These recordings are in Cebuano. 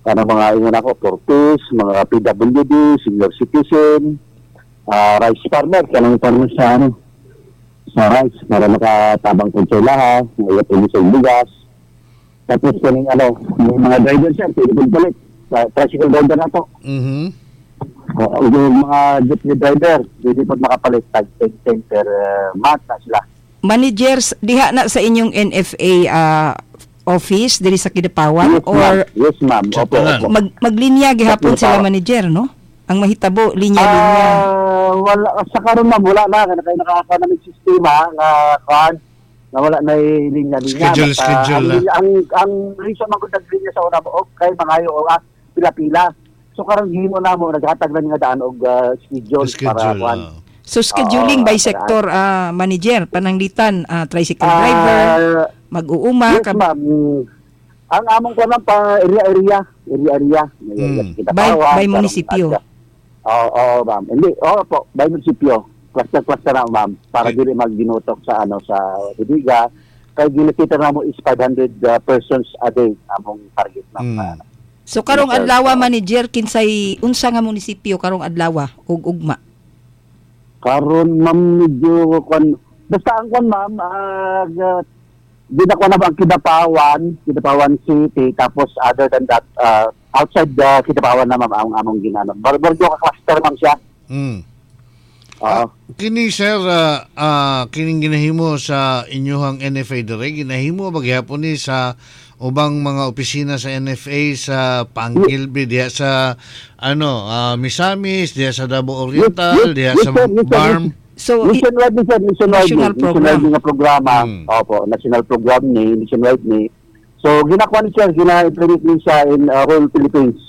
Kanang mga ingon ako, 4Ps, mga PWD, senior citizen, rice farmer, kanang farmer sa ano, sa rice para makatabang po sa ilaha, mga sa bigas. Tapos kaning ano, may mga driver, sir, pwede pong palit. Sa tricycle driver na to. O, yung mga jeepney driver, pwede po makapalit tag 10 per month na sila. Managers, diha na sa inyong NFA office diri sa Kidapawan Yes, or ma'am. Yes, ma'am. Opo, opo. Maglinya gihapon sila, Kidapawan. manager, no? Ang mahitabo linya-linya. Ah, wala sa karon, ma'am, wala na kay nakaka na sistema nga kuan nga wala na linya-linya. Schedule, Basta schedule ang, na. Ang reason man gud naglinya sa una og kay mangayo og pila-pila. So karon gihimo namo, naghatag na nga daan og schedule, para Schedule. kuan. So scheduling Oo, by sector, manager, pananglitan tricycle driver, mag-uuma Yes, ma'am. Ang among kuan lang pa area-area, area-area. May area sa Kidapawan, By karong munisipyo. Oo, oo, ma'am. Hindi, oo po, by munisipyo. Cluster-cluster na, ma'am, para dili magginutok sa ano sa bodega. Kay ginakita na mo is 500 persons a day among target, ma'am. So karong Yes, sir. adlaw, manager, kinsay unsa nga munisipyo karong adlaw ug ugma? Karon, ma'am, medyo kwan basta ang kwan, ma'am, ginako na ba ang Kidapawan, Kidapawan City, tapos other than that, outside the Kidapawan na, ma'am, ang among ginano. Barbaryo ka cluster, ma'am, siya. Oo. Kini sir, kining ginahimo sa inyuhang NFA dire, ginahimo ba gihapon ni sa ubang mga opisina sa NFA sa Pangilbe, diha sa ano, Misamis, diha sa Davao Oriental, diha yes, sa sir, yes, sir. BARMM? So Nationwide ni, sir, nationwide National ni, program. Nationwide nga programa. Opo, national program ni, nationwide ni. So ginakuha ni sir, gina-implement ni siya in whole Philippines.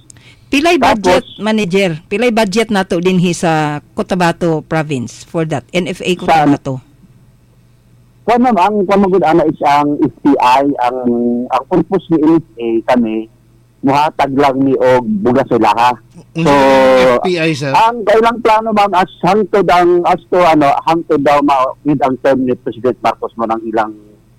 Pilay budget, Tapos- manager? Pilay budget nato dinhi sa Cotabato province for that NFA Cotabato? Kuan, ma'am, ang kuan magud ana is ang FTI, ang purpose ni NFA kami muhatag lang ni og bugas sa ilaha. Unsa So, FPI, sir? Ang kailang plano, ma'am, as hangtod ang as to ano hangtod daw ma with ang term ni President Marcos mo ng ilang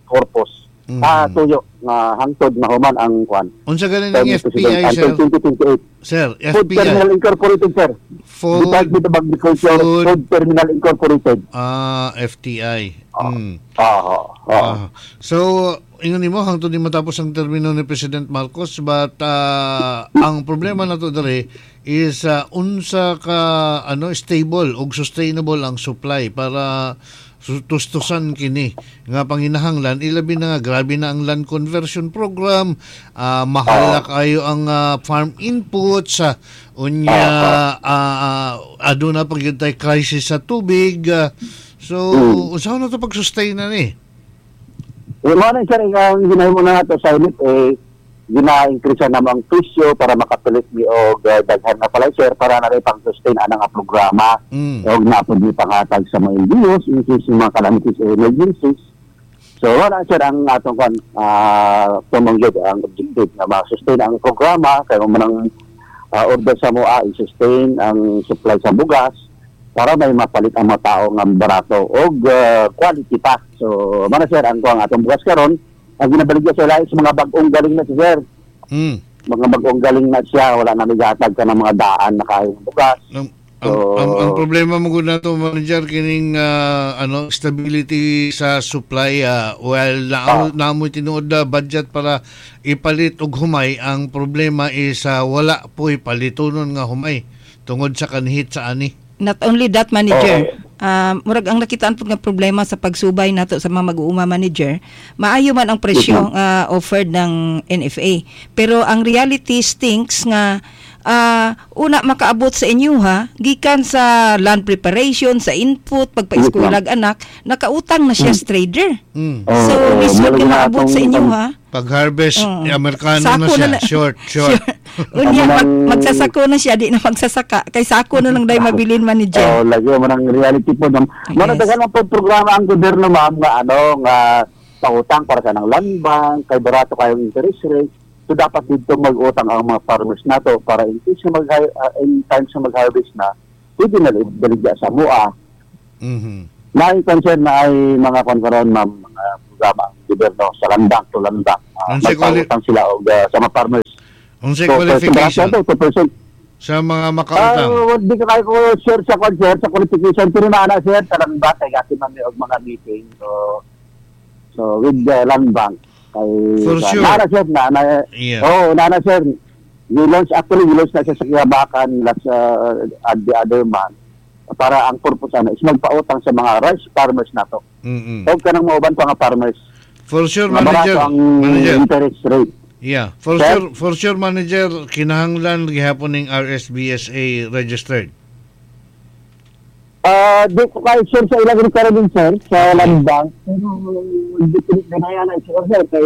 purpose. Ah, tuyo nga hangtod mahuman ang kuan. Unsa ganin term ang ni President FPI, sir? until 2028. Sir, Food FPI. Terminal Incorporated, sir. Food, Department of Agriculture, Food Terminal Incorporated. Ah, FTI. Oo. Ah, so, ingon nimo hangtod di matapos ang termino ni President Marcos, but ang problema nato diri is unsa ka ano stable ug sustainable ang supply para tustusan kini nga panginahanglan, ilabi na nga grabe na ang land conversion program, mahal na kayo ang farm inputs, unya aduna pa gyud tay crisis sa tubig, so unsa na to pag-sustain na ni? Eh, mo na, sir, ang ginahimo na nato sa NFA, gina-increase na ang presyo para makapalit mi og daghan nga palay, sir, para na rin pang-sustain anang nga programa. Og napod mi panghatag sa mga LGUs in case ng mga calamities or emergencies. So wala, sir, ang atong kwan tumong gyud ang objective nga ma-sustain ang programa kay mo manang order sa moa i-sustain ang supply sa bugas para may mapalit ang mga tao nga barato og quality pa. So mana, sir, ang kuang atong bugas karon ang ginabaligya sa lahi sa mga bag-ong galing na siya, sir. Mga bag-ong galing na siya, wala na migatag ka ng mga daan na kayong bugas. Ang problema mo gud nato, manager, kining ano stability sa supply, well na namoy tinuod na budget para ipalit og humay. Ang problema is wala po'y palitonon nga humay tungod sa kanhit sa ani. Not only that, manager. Murag ang nakitaan pud nga problema sa pagsubay nato sa mga mag-uuma, manager, maayo man ang presyo nga offered ng NFA. Pero ang reality stinks nga una makaabot sa inyo ha, gikan sa land preparation, sa input, pagpa-eskwela anak, nakautang na siya sa trader. So, Oo, lisod murag ka na maabot sa atong inyo ha. Pag harvest, Amerikano na Sako siya, na short, short. Unya, Amo nang- magsasako na siya, di na magsasaka. Kay sako na lang dahil mabilin, manager. Oh, lagi mo ng reality po, ma'am. Yes. Mo daghan man po programa ang gobyerno, ma'am, nga ano nga pautang para sa nang land bank kay barato kayong interest rate. So dapat dito mag-utang ang mga farmers nato para in case na mag in times na mag-harvest na, pwede na baligya sa mua. Naay concern na ay mga konkaron, ma'am, mga programa ang gobyerno sa land bank to land bank. Unsay Magpautang sila og sa mga farmers. Unsay qualification 2%. Sa mga makautang? Di ko kayo ko sure sa kwan, sir, sa qualification, pero naa na, sir, sa Land Bank kay gati man mi og mga meeting. So with the Land Bank kay For sure. Naa na, sir, naa na. Oh, naa na, sir. We launch actually we launch na siya sa Kiyabakan last at the other month para ang purpose ana is magpautang sa mga rice farmers nato. Og kanang mauban pa nga farmers. For sure, Nga barato manager. ang Manager. interest rate. Yeah, for Sir? sure, for sure, manager, kinahanglan gihapon ning RSBSA registered. Di ko kayo sure sa ilang requirement, sir, sa Land Bank. Pero di ko ganaya na sure, sir, kay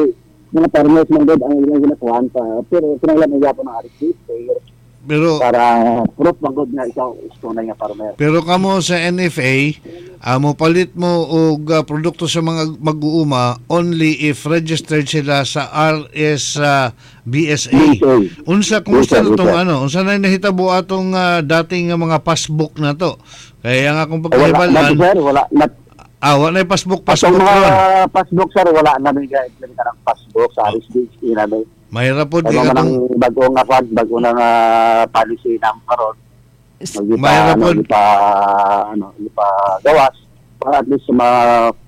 mga farmers man gud ang ilang ginakuhan pa. Pero kinahanglan na gyapon ang RSBSA Pero para proof man gud nga ikaw is tunay nga farmer. Pero kamo sa NFA, mo palit mo og produkto sa mga mag-uuma only if registered sila sa RS BSA. BSA. Unsa, kumusta Yes, sir. na tong Yes, sir. ano? Unsa na nahitabo atong dating nga mga passbook na to? Kaya nga akong Eh, wala na, pagkahibalan, sir, wala na. Wa na passbook Atong passbook mga ron. passbook, sir, wala na may ga-implement ng passbook sa RSBSA namin. Mahirap pod Kaya kay man katong ang bago nga kwan, bago na nga policy na karon. Magipa, Mahirap ano, pod. gipa, ano, gipa gawas para at least sa mga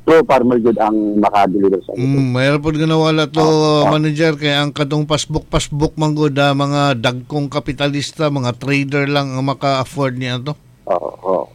pro farmer jud ang maka-deliver sa ito. Mahirap pod nga nawala to, manager, kay ang katong passbook passbook man gud, mga dagkong kapitalista, mga trader lang ang maka-afford niya to. Oo.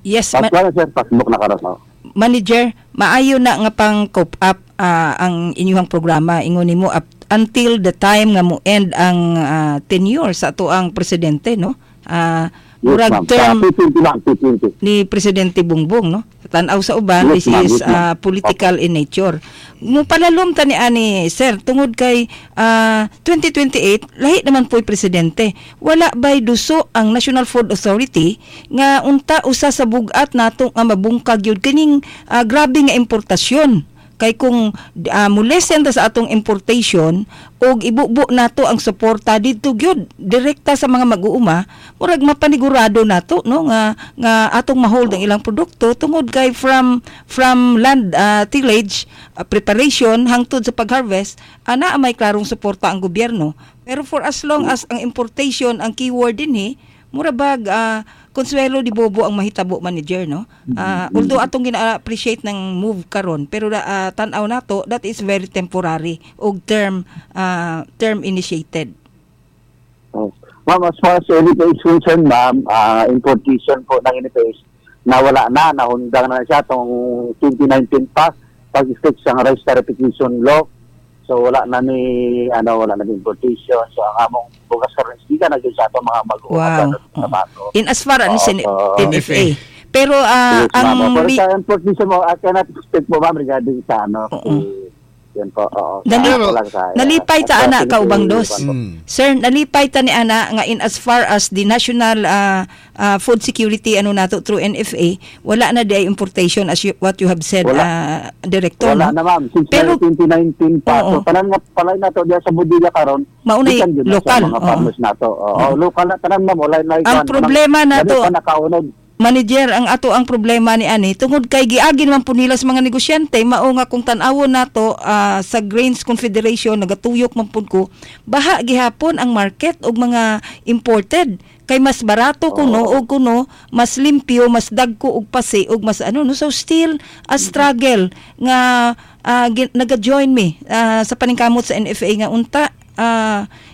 Yes, Passbook na, sir, passbook na karon. Oh. Manager, maayo na nga pang cope up ang inyong programa ingon nimo up until the time nga mo end ang tenure sa ato ang presidente, no? Yes, Murag ma'am. term Sa P20 lang, P20. ni Presidente Bongbong, no? Tan-aw sa uban, Yes, this ma'am. is Yes, ma'am. political in nature. Mo palalom ta ni ani, sir, tungod kay 2028 lahi naman po'y presidente. Wala bay duso ang National Food Authority nga unta usa sa bug-at nato nga mabungkag yun kining grabe nga importasyon? Kay kung mulesen ta sa atong importation og ibubo nato ang suporta didto gyud direkta sa mga mag-uuma, murag mapanigurado nato, no, nga nga atong mahold ang ilang produkto tungod kay from land tillage, preparation hangtod sa pag-harvest, ana may klarong suporta ang gobyerno. Pero for as long as ang importation ang keyword dinhi, mura bag konsuelo di bobo ang mahitabo, manager, no? Although atong gina-appreciate ng move karon, pero tan-aw nato, that is very temporary og term initiated. Oh. Ma'am, as far as NFA is concerned, ma'am, importation po ng NFA is nawala na, nahundang na siya tong 2019 pa, pag-fix ang rice tariffication law. So wala na ni ano wala na ni importation. So ang among bugas karon is gikan na gyud sa atong mga mag-uuma sa bato. In as far as Oo. NFA. Pero Yes, ang ma'am. Pero sa importation mo, I cannot speak po, ma'am, regarding sa ano. Yun po, oo. Pero- Wala sa- Nalipay ta ana sa- kaubang dos. po. Sir, nalipay ta ni ana nga in as far as the national food security ano nato through NFA, wala na di importation as you, what you have said, Wala. Director, Wala no? na, ma'am. Since 2019 pa. Oo. So, tanan nga palay na to diya sa bodega karon. Maunay gikan gyud na sa local, mga oo. farmers nato. Oo, local na tanan, ma'am, wala na Ang problema nato- Dali pa nakaunod. Manager, ang ato ang problema ni ani tungod kay giagi naman po nila sa mga negosyante, mao nga kung tan-awon nato sa Grains Confederation nagatuyok man pud ko, baha gihapon ang market og mga imported kay mas barato kuno og kuno mas limpyo, mas dagko og pasi og mas ano, no? So still a struggle nga naga-join me sa paningkamot sa NFA nga unta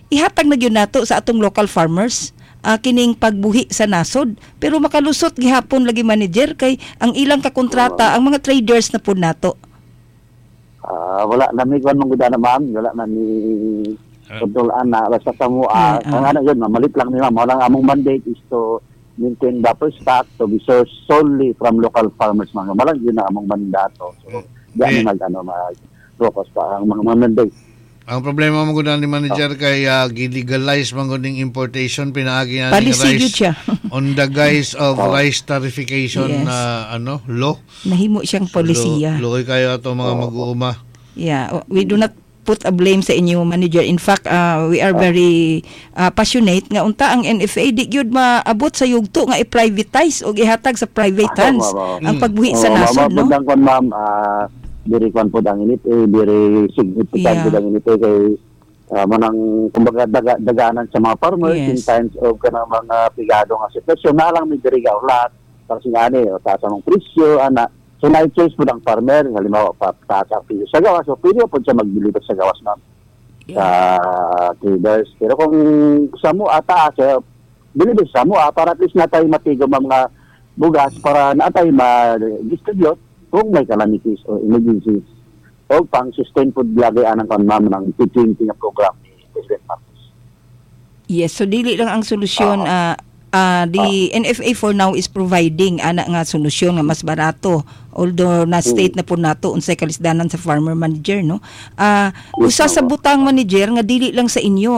ihatag na gyud nato sa atong local farmers kining pagbuhi sa nasod, pero makalusot gihapon lagi, manager, kay ang ilang kakontrata ang mga traders na pud nato. Wala na mi kuan mong na, ma'am, wala na mi control ana basta sa mo ang ano yun, ma'am, malit lang ni ma'am. Wala, ang among mandate is to maintain buffer stock to be sourced solely from local farmers, mga malang yun na among mandato. So di Eh. mi mag ano mag focus pa ang mga mandate. Ang problema mo gud ni manager kay gilegalize man gud ning importation pinaagi na ning Policy rice gyud siya. on the guise of rice tarification na ano law. Nahimo siyang polisiya. Luoy kayo ato mga mag-uuma. Yeah, we do not put a blame sa inyo, manager. In fact, we are very passionate nga unta ang NFA di gyud maabot sa yugto nga i-privatize o ihatag sa private hands ang pagbuhi sa Oo, nasod, ma'am, no? ang kwan, ma'am, diri kwan po ang init, eh, diri significant po ang init, eh, kay Manang kumbaga daganan sa mga farmers in times of kanang mga pigado nga sitwasyon na lang may diri ulat para singani o taas ang presyo ana. So na choice po ang farmer, halimbawa taas ang presyo sa gawas, so pwede po siya mag-deliver sa gawas, ma'am, sa traders. Pero kung sa mo taas, deliver sa mo para at least na tayo matigo mga bugas para na tayo ma-distribute kung may calamities or emergencies o pang sustain food lagi anang kan, ma'am, ng P20 nga program ni President Marcos. Yes, so dili lang ang solusyon, the NFA for now is providing ana nga solusyon nga mas barato, although na state na po nato unsay kalisdanan sa farmer manager, no. Usa sa butang, manager, nga dili lang sa inyo,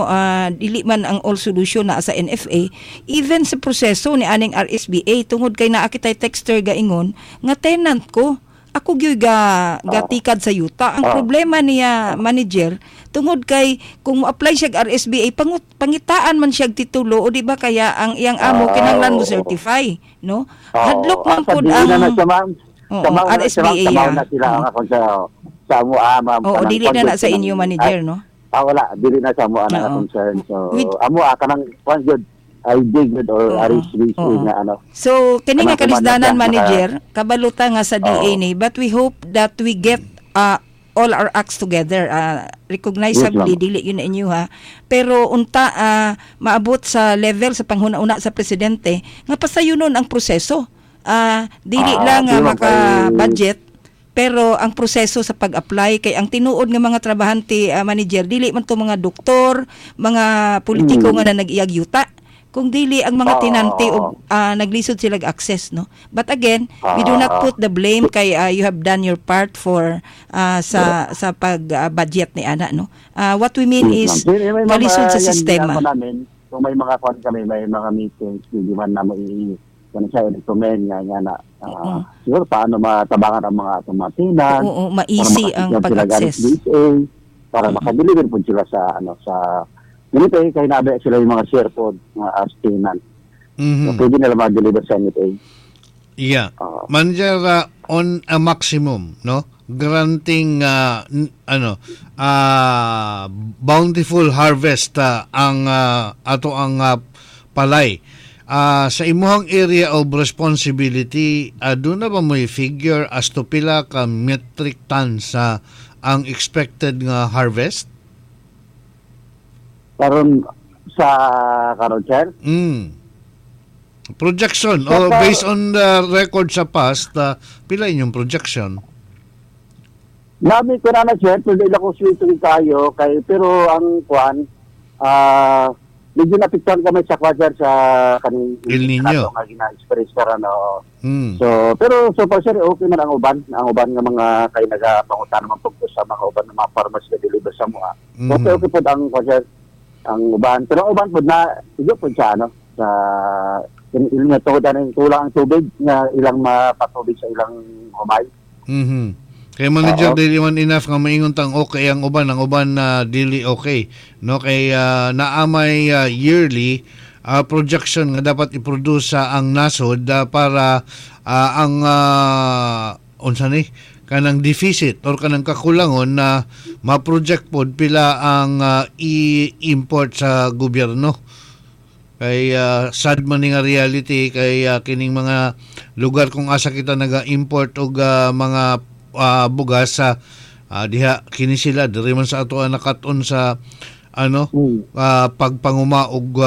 dili man ang all solution na sa NFA, even sa proseso ni aning RSBA, tungod kay naa kitay texter gaingon nga tenant ko, ako gyud ga gatikad sa yuta. Ang problema niya, manager, tungod kay kung mo-apply siya og RSBA, pangitaan man siya og titulo o di ba kaya ang iyang amo kinahanglan mo certify, no? Hadlok man pud ang ang na siya, ma'am. Oo, Sa mao na siya, ma'am. RSBA. Sa mao na sila ang akong sa amo, ma'am. Oo, Kanang dili na sa kanang inyo, manager, no? Wala, dili na sa amo ana concern. So amo kanang kwan gyud ID good or RSBA nga ano. So kini nga Kanang kuman na kalisdanan, siya, manager, kabaluta nga sa DA ni, but we hope that we get all our acts together. Recognizably Yes, ma'am. dili yun na inyo ha. Pero unta maabot sa level sa panghuna-una sa presidente nga pasayunon ang proseso. Dili lang di, ma'am, maka-budget pero ang proseso sa pag-apply, kay ang tinuod nga mga trabahante, manager, dili man to mga doktor, mga politiko nga na nag-iyag yuta, kung dili ang mga tenante og naglisod sila og access, no. But again, we do not put the blame kay you have done your part for sa pag budget ni ana, no. What we mean is Yes, ma'am. Anyway, ma'am, kalisod sa yan, sistema. ginagawa namin, kung may mga kwan kami, may mga meetings, hindi man namin kung siya recommend nga nga na siguro paano matabangan ang mga atong mga tenant Oo, ma-easy para ang makasecure sila pag-access. RSBA, para makadeliver po sila sa ano sa ganito eh, kay nabe sila yung mga share po mga as tenant. So, pwede nila ma-deliver sa NFA. Yeah. Manager, on a maximum, no? Granting ano, bountiful harvest ang ato ang palay. Sa imuhang area of responsibility, doon na ba mo'y figure as to pila ka metric tons sa ang expected nga harvest? Karon sa karon, sir? Projection o based on the record sa past, pila inyong projection? Nami ko na na, sir, pero dili ko swito kayo kay pero ang kuan medyo napiktuhan kami sa kwan, sir, sa kaning El Niño. Nga gina-experience karon, oo. So, pero so far, sir, okay man ang uban nga mga kay nagapangutan naman pud ko sa mga uban ng mga farmers na deliver sa mua. Okay, okay pod ang kwan, sir, ang uban. Pero ang uban pod na igo pod sa ano sa ilang nga tungod ang kulang ang tubig nga ilang mapatubig sa ilang humay. Kay manager, dili man enough nga maingon tang okay ang uban na dili okay, no, kay naamay yearly projection nga dapat i-produce sa ang nasod para ang unsa ni kanang deficit or kanang kakulangon na ma-project pod pila ang i-import sa gobyerno, kay sad man ni nga reality kay kining mga lugar kung asa kita naga-import og mga bugas sa diha kini sila diri man sa ato ang nakat-on sa ano pagpanguma og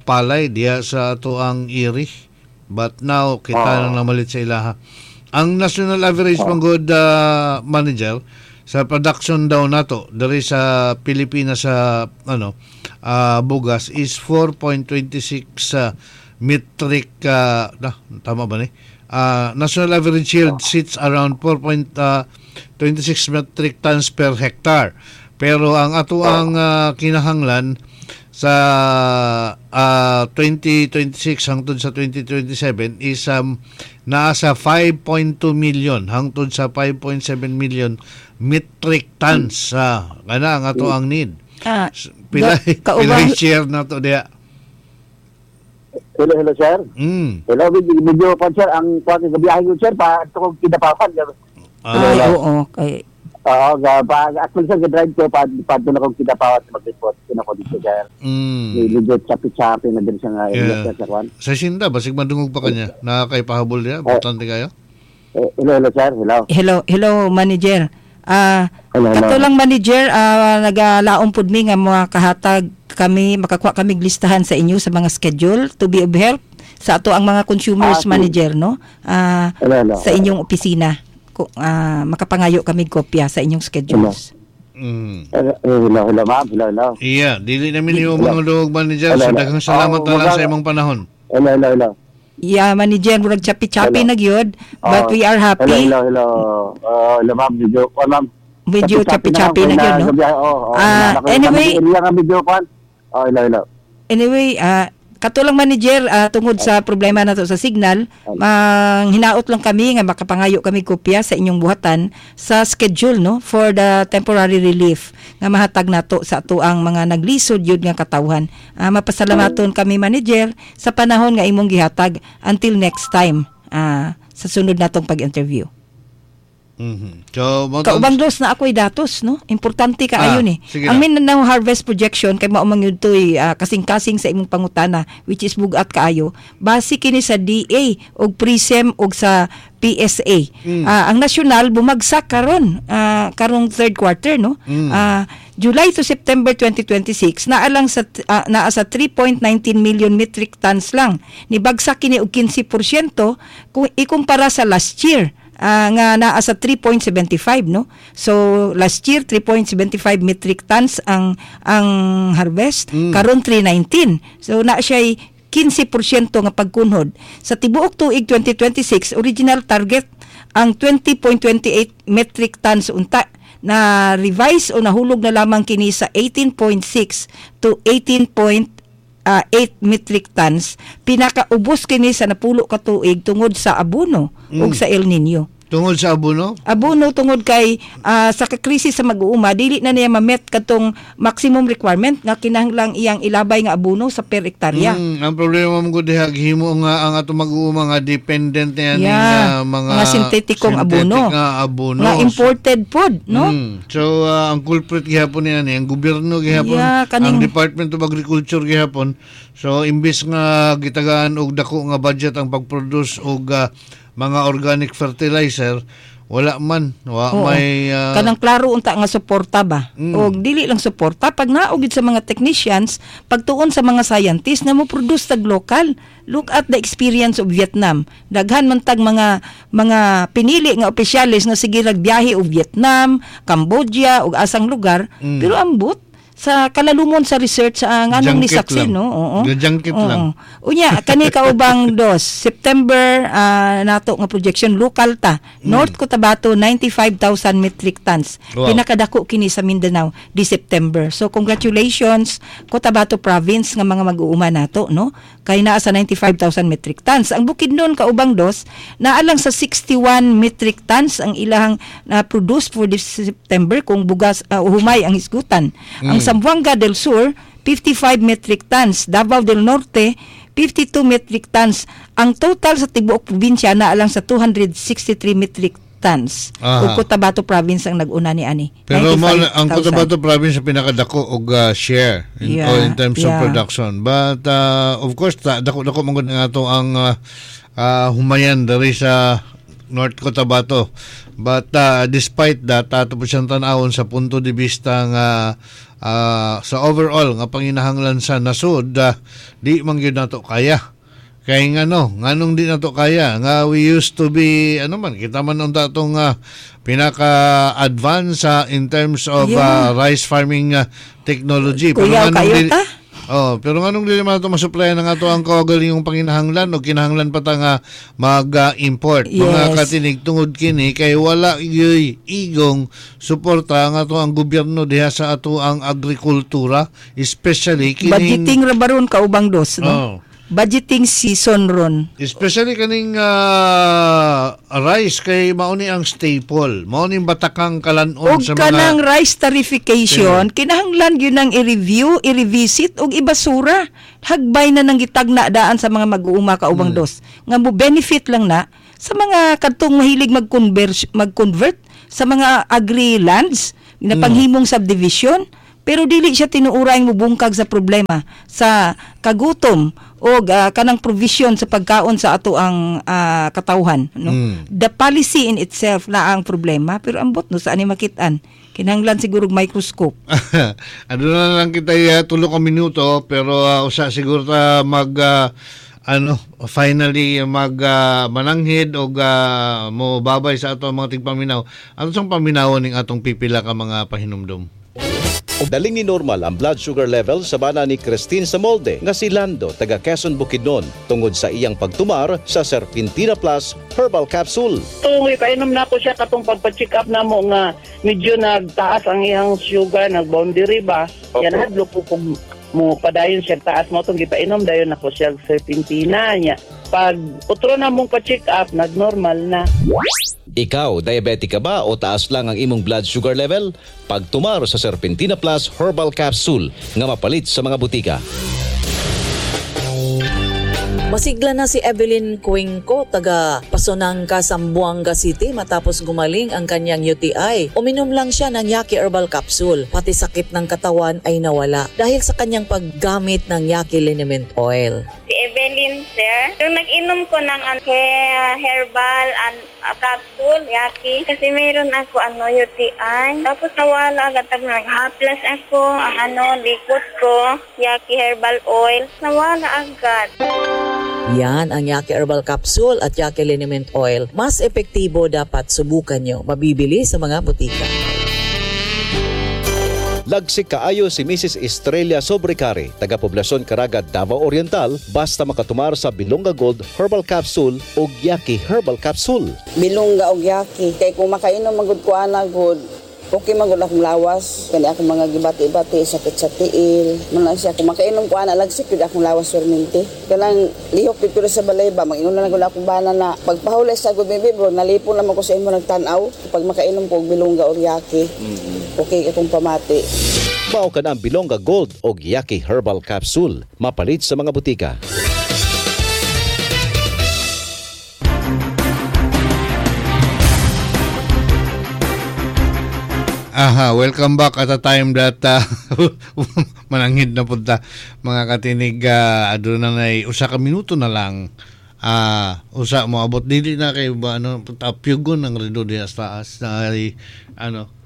palay diha sa ato ang iri, but now kita na namalit sa ilaha. Ang national average man good, manager, sa production daw nato diri sa Pilipinas sa ano bugas is 4.26 metric na, tama ba ni? National average yield sits around 4.26 metric tons per hectare. Pero ang ato ang kinahanglan sa 2026 hangtod sa 2027 is naa sa 5.2 million hangtod sa 5.7 million metric tons sa kana ang ato ang need. Pila pila share na to diya? Hello, hello, sir. Hello, medyo, medyo pa, sir, ang kuwan gabiyahe ko, sir, pa ito kong kidapapan. Ay, oo. Kay, Oo, ga pa actually sa drive ko pa pa doon ako Kidapawan mag-report ko dito, sir. Medyo chapi-chapi na din siya nga area, sir, sa kwan. Sa Sinda, basig madungog pa kanya. Nakakaipahabol niya. Importante kayo. Eh, hello, hello, sir. Hello. Hello, hello, manager. Hello, hello. Kato lang, manager, nagalaom pud mi nga makahatag kami, makakuha kami listahan sa inyo sa mga schedule to be of help sa ato ang mga consumers, manager, no? Hello, hello. Sa inyong opisina. Makapangayo kami kopya sa inyong schedules. Hello, hello, hello, ma'am. Hello, hello. Iya, dili namin yung mga dungog, manager. Hello, So hello. daghang salamat Oh, na lang sa imong panahon. Hello, hello, hello. Yeah, manager, murag chapi-chapi Hello. na gyud, but Oh, we are happy. Hello, hello, hello. Oh, hello, ma'am. Medyo, oh, ma'am. Medyo chapi-chapi na gyud, no? Oh, Anyway- Area nga medyo kwan. Oh, hello, hello. Anyway, katulang, manager, tungod sa problema nato sa signal, mang hinaot lang kami nga makapangayo kami kopya sa inyong buhatan sa schedule, no, for the temporary relief nga mahatag nato sa ato ang mga naglisod yun nga katawhan. Mapasalamaton kami, manager, sa panahon nga imong gihatag until next time, sa sunod natong pag-interview. So, mo Kaubang dos na ako'y datos, no? Importante kaayo ni. Sige Ang na. Mindanao harvest projection kay mao man gyud to'y kasing-kasing sa imong pangutana, which is bugat kaayo. Base kini sa DA og PRISM og sa PSA. Ang national bumagsak karon, karong third quarter, no? July to September 2026 naa sa 3.19 million metric tons lang. Nibagsak kini og 15% kung ikumpara sa last year nga naa sa 3.75, no? So last year 3.75 metric tons ang harvest, karon 319. So na siya 15% nga pagkunhod. Sa tibuok tuig 2026, original target ang 20.28 metric tons unta, na revise o nahulog na lamang kini sa 18.6 to 18.8 metric tons. Pinakaubos kini sa napulo ka tuig tungod sa abono ug sa El Nino. Tungod sa abono? Abono, tungod kay sa krisis sa mag-uuma, dili na niya ma-met katong maximum requirement nga kinahanglang iyang ilabay nga abono sa per hektarya. Ang problema mo gud diha, gihimo nga ang atong mag-uuma nga dependent na yan mga mga sintetikong synthetic abono. nga abono. Nga imported food, no? So ang culprit gihapon niya ni ang gobyerno gihapon, ang Department of Agriculture gihapon. So imbis nga gitagaan og dako nga budget ang pag-produce og mga organic fertilizer, wala man, wa may Kanang klaro unta nga suporta ba? Og dili lang suporta pag naog gid sa mga technicians, pagtuon sa mga scientists na mo produce tag local. Look at the experience of Vietnam. Daghan man tag mga pinili nga opisyales nga sige nagbiyahe og Vietnam, Cambodia ug asang lugar, pero ambot sa kalalumon sa research sa nganong ni Junket saksin, lang. no? Oo. Junket Oo. lang. Unya kani kaubang dos, September nato nga projection, local ta. North Cotabato, 95,000 metric tons. Pinakadako kini sa Mindanao di September. So congratulations, Cotabato province nga mga mag-uuma nato, no? Kay naa sa 95,000 metric tons. Ang Bukidnon, kaubang dos, naa lang sa 61 metric tons ang ilahang na produce for this September kung bugas humay ang hisgutan. Ang Zamboanga del Sur, 55 metric tons. Davao del Norte, 52 metric tons. Ang total sa tibuok probinsya naa lang sa 263 metric tons. Ug Cotabato province ang nag-una ni ani. Pero mo ang 95,000. Cotabato province ang pinakadako og share in, o in terms of production. But of course dako-dako man gud nga ato ang humayan diri sa North Cotabato. But despite that, ato po siyang tan-awon sa punto de vista nga sa overall nga panginahanglan sa nasod, di man gyud nato kaya. Kay ngano, nganong di nato kaya nga we used to be ano man, kita man unta atong pinaka-advance in terms of rice farming technology. Kuyaw nganong kayo ta? Oh, pero nganong dili man nato masuplayan ang ato ang kaugalingong panginahanglan o kinahanglan pa ta nga mag-import? Mga katinig, tungod kini kay wala gyuy igong suporta ang ato ang gobyerno diha sa ato ang agrikultura, especially kining Budgeting ra baron, kaubang dos, no? Oh. Budgeting season ron. Especially kaning rice kay mao ni ang staple. Mao ni batakang kalanon Og sa kanang mga rice tarification, kinahanglan gyud nang i-review, i-revisit og ibasura. Hagbay na nang gitagna daan sa mga mag-uuma, kaubang dos. Nga mo benefit lang na sa mga kadtong mahilig mag-convert mag-convert sa mga agri lands ginapanghimong subdivision, pero dili siya tinuuray mobungkag sa problema sa kagutom o kanang provision sa pagkaon sa ato ang katawhan, no? The policy in itself na ang problema, pero ambot no saan ni makit-an, kinahanglan siguro og microscope. Ano na lang kita 3 ka minuto, pero usa siguro ta mag finally mag mananghid og mo babay sa ato mga tigpaminaw. Ano sang paminawon ning atong pipila ka mga pahinumdom? Daling ni normal ang blood sugar level sa bana ni Christine Samolde nga si Lando taga Quezon, Bukidnon tungod sa iyang pagtumar sa Serpentina Plus Herbal Capsule. Tungoy painom na ko siya katong pagpa-check up namo nga medyo nagtaas ang iyang sugar, nag-boundary ba. Yan hadlo ko kung mo padayon siya taas mo tong gipainom dayon nako siya Serpentina niya. Pag utro na mong pa-check up, nag-normal na. Ikaw, diabetic ka ba o taas lang ang imong blood sugar level? Pagtumar sa Serpentina Plus Herbal Capsule nga mapalit sa mga butika. Masigla na si Evelyn Cuenco, taga Pasonanca, Zamboanga City matapos gumaling ang kanyang UTI. Uminom lang siya ng Yaki Herbal Capsule. Pati sakit ng katawan ay nawala dahil sa kanyang paggamit ng Yaki Liniment Oil. Si Evelyn, sir. Yung nag-inom ko ng herbal and capsule, Yaki, kasi mayroon ako UTI. Tapos nawala agad, nag-haplas ako, ang likot ko, Yaki Herbal Oil, nawala agad. Yan ang Yaki Herbal Capsule at Yaki Liniment Oil. Mas epektibo, dapat subukan nyo. Mabibili sa mga butika. Lagsik kaayo si Mrs. Estrella Sobrecare, taga Poblacion Caraga, Davao Oriental, basta makatumar sa Bilonga Gold Herbal Capsule o Yaki Herbal Capsule. Bilongga og Yaki. Kay kung makainom magud ko ana gud, okay magud akong lawas. Kani akong mga gibati-bati, sakit sa tiil. Muna siya, kung makainom ko ana, lagsik yun akong lawas surminti. Kanang lihok dito sa balay ba, mag-inom na lang akong bana na pagpahulay sa good baby bro, nalipon naman ko sa imo nagtan-aw. Pag makainom ko og Bilongga or Yaki, okay akong pamati. Mao ka na ang Bilongga Gold o Yaki Herbal Capsule. Mapalit sa mga butika. Aha, welcome back at a time that mananghid na punta mga katinig, aduna na usa ka minuto na lang. Usa mo abot dili na kay ba tapyugon ang rido diha sa taas na ay,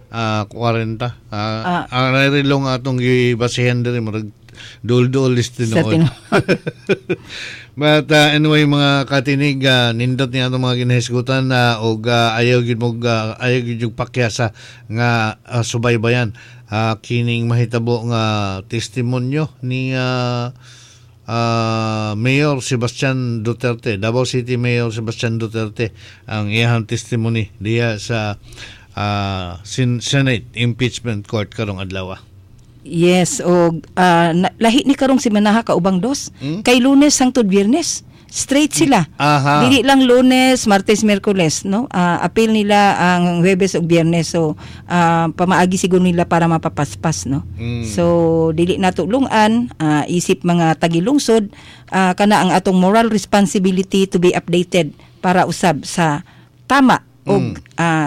40. Ang relo nga atong gibasihan diri murag dul-dul is tinuod. But anyway mga katinig, nindot niya atong mga ginahisgutan og ayaw gid mo ayaw gid yung pakyasa nga subaybayan kining mahitabo nga testimonyo ni Mayor Sebastian Duterte, Davao City Mayor Sebastian Duterte, ang iyang testimony diha sa Senate Impeachment Court karong adlaw. Yes, og lahi ni karong si Manaha kaubang dos. Kay Lunes hangtod Biyernes, straight sila. Aha. Dili lang Lunes, Martes, Miyerkules, no? Appeal nila ang Huwebes ug Biyernes. So, pamaagi siguro nila para mapapaspas, no? So, dili nato lungan, isip mga tagilungsod, kana ang atong moral responsibility to be updated para usab sa tama ug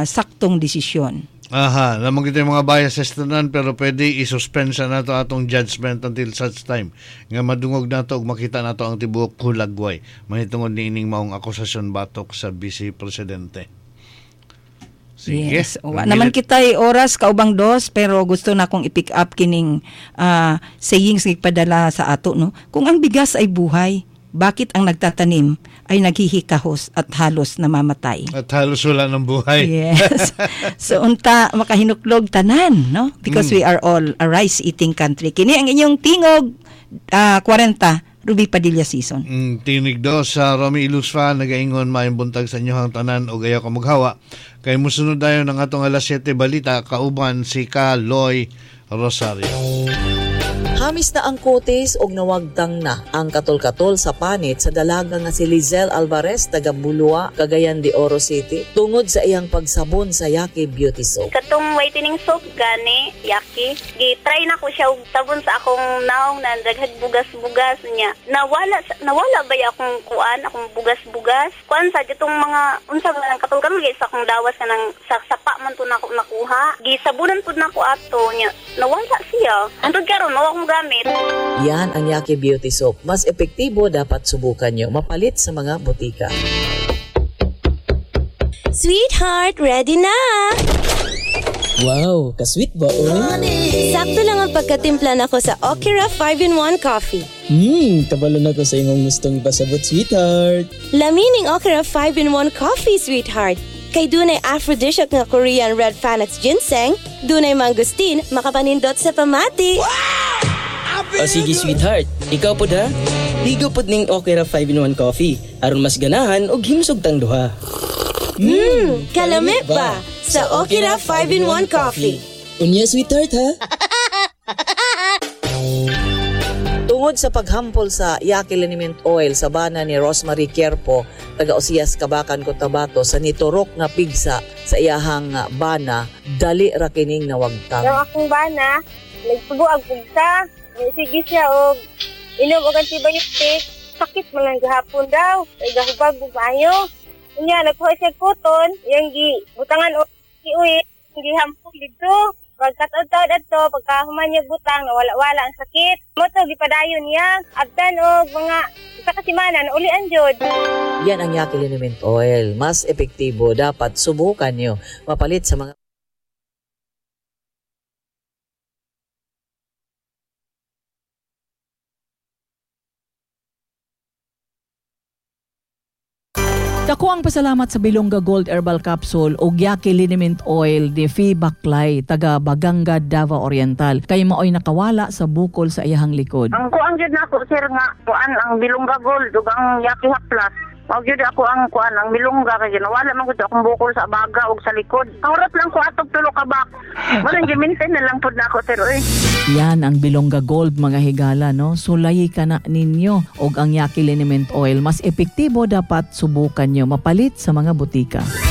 saktong desisyon. Aha, lamang kita yung mga biases tanan, pero pwede i-suspend sa nato atong judgment until such time nga madungog nato ug makita nato ang tibuok hulagway mahitungod niining maong akusasyon batok sa Vice Presidente. Sige. Yes. Wa naman kita'y oras kaubang dos, pero gusto na akong i-pick up kining sayings nga ipadala sa ato, no? Kung ang bigas ay buhay, bakit ang nagtatanim ay naghihikahos at halos namamatay? At halos wala ng buhay. Yes. So unta makahinuklog tanan, no? Because we are all a rice-eating country. Kini ang inyong tingog 40 Ruby Padilla season. Tinig do sa Romy Ilusfa nagaingon maayong buntag sa inyohang tanan og ayaw ka maghawa. Kay mosunod dayon ang atong alas 7 balita kauban si Ka Loy Rosario. Nahamis na ang kutis og nawagtang na ang katol-katol sa panit sa dalaga nga si Lizelle Alvarez taga Bulua, Cagayan de Oro City tungod sa iyang pagsabon sa Yaki Beauty Soap. Katong whitening soap gani, Yaki. Gi-try na ko siya og sabon sa akong naong na daghag bugas-bugas niya. Nawala ba ya akong kuan, akong bugas-bugas? Kuan sa itong mga unsa ba ang katol-katol sa akong dawas kanang sa sapa man to nako nakuha. Gisabunan pud nako ato niya. Nawala siya. Antod karon wa akong gamit. Yan ang Yaki Beauty Soap. Mas epektibo, dapat subukan nyo. Mapalit sa mga butika. Sweetheart, ready na! Wow, ka-sweet ba, oy? Sakto lang ang pagkatimpla nako sa Okira 5-in-1 Coffee. Kabalo na ko sa imong gustong ipasabot, sweetheart. Lamining Okira 5-in-1 Coffee, sweetheart. Kay dunay aphrodisiac nga Korean Red Panax ginseng, dunay mangosteen, makapanindot sa pamati. O sige, sweetheart, ikaw pod ha? Higo pod ning Okira 5-in-1 Coffee aron mas ganahan og himsog tang duha. Kalami ba sa Okira 5-in-1 Coffee. Unya, sweetheart ha? Tungod sa paghampol sa Yaki Liniment Oil sa bana ni Rosemary Kierpo, taga Osias, Kabakan, Cotabato, sa niturok nga pigsa sa iyahang bana, dali ra kining nawagtang. Yung akong bana, nagtubo ang pigsa, sige siya og inom og antibiotic, sakit man lang gahapon daw, ay gahubag bubayo. Unya nagkuha siya cotton, iyang gibutangan og iuwi, gihampol didto. Pagkataod-taod adto, pagka human niya butang, nawala-wala ang sakit. Mo to gipadayon niya, abtan og mga isa ka semana naulian jud. Yan ang Yaki Liniment Oil. Mas epektibo, dapat subukan nyo. Mapalit sa mga Dako ang pasalamat sa Bilongga Gold Herbal Capsule ug Yaki Liniment Oil ni Fee Baklay taga Baganga, Davao Oriental kay maoy nakawala sa bukol sa iyahang likod. Ang kuan gyud nako sir nga kuan ang Bilongga Gold ug ang Yaki Plus. Mao gyud ako ang kuan ang Bilongga kay nawala man gud akong bukol sa baga ug sa likod. Ang lang ko atog tulo ka bak. Mo nang gi-maintain na lang pud nako sir oy. Yan ang Bilongga Gold mga higala no. Sulayi ka na ninyo og ang Yaki Liniment Oil mas epektibo, dapat subukan nyo. Mapalit sa mga butika.